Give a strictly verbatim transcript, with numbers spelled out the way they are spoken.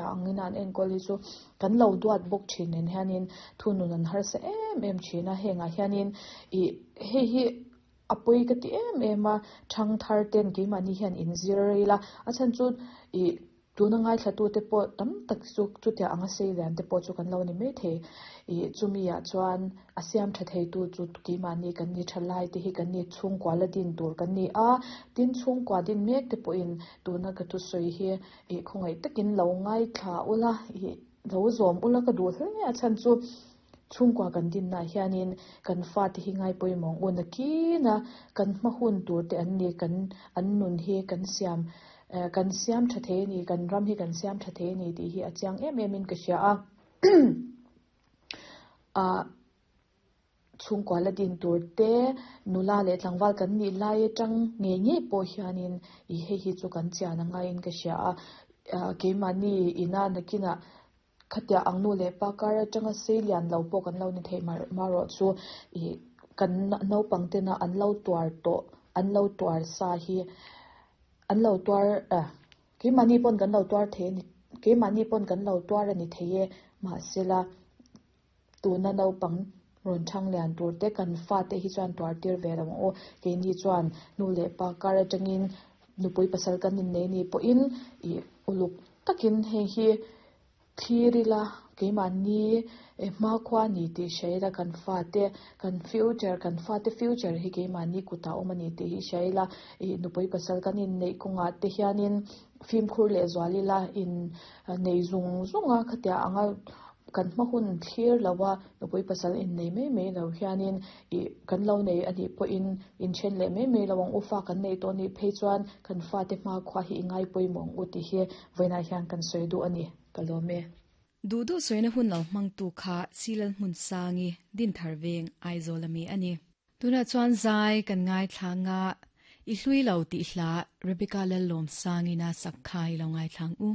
Angin an enkawl hi chu kan lo duat bawk thin nen hianin thunun an harsa em em thin a, hengah hianin ih hei hi a pawi ka ti em em a, thangthar ten keimahni hian inzir ila a chhan chu ih tuna ngaithla tute pawh tam tak chu chutiang anga sei lian te pawh chu kan lo ni maithei ih chumi ah chuan a siam tha thei tu chu keimahni kan ni tha lai te hi kan ni chhungkua la din tur kan ni a, tin chhungkua din mek te pawhin tuna ka thusawi hi ih khawngaih takin lo ngaithla ula ih lo zawm ula ka duh hle a chhan chu chhungkua kan dinna ah hianin kan fate hi ngai pawimawh ang u nakin a kan hma hun tur te an ni kan an nun hi kan siam eh kan siam tha thei a ni kan ram hi kan siam tha thei a ni tih hi a chiang em em in ka hria a ah chhungkua la din tur te nula leh tlangval kan nih lai atang ngei ngei pawh hianin ih hei hi chu kan chian a ngaiin ka hria a ah keimahni ina nakinah khatia ang nu leh pa kar atanga sei lian lo pawh kan lo ni thei mar marawh chu ih kan naupang tena an lo tuar tawh an lo tuar sa hi an lo tuar ah keimahni pawn kan lo tuar thei a ni keimahni pawn kan lo tuar a ni thei e mahsela tuna naupang rawn thang lian tur te kan fate hi chuan tuar tir ve lo ang aw keini chuan nu leh pa kar atangin nupui pasal kan innei ni pawhin ih uluk takin hei hi thlir ila keimahni hmakhua a ni tih hria ila kan fate kan future kan fate future hi keimahni kutah awm a ni tih hi hria ila ih nupui pasal kan inneih kawngah te hianin fimkhur leh zual ila in nei zung zung a khatiang anga kan hma hun thlir lo a nupui pasal innei mai mai lo hianin ih kan lo nei a nih pawhin inthen leh mai mai lo ang u fa kan neih tawh anih phei chuan kan fate hmakhua hi i ngai pawimawh ang u tih hi vawiinah hian kan sawi duh a ni ka lawm e. Duh duh sawina hun lo hmangtu kha Silal Hmunsangi Dinthar Veng Aizawl ami a ni. Tunah chuan zai kan ngaithlang a, i hlui lo tih hla Rebecca Lallawmsangin a sak kha i lo ngaithlang u.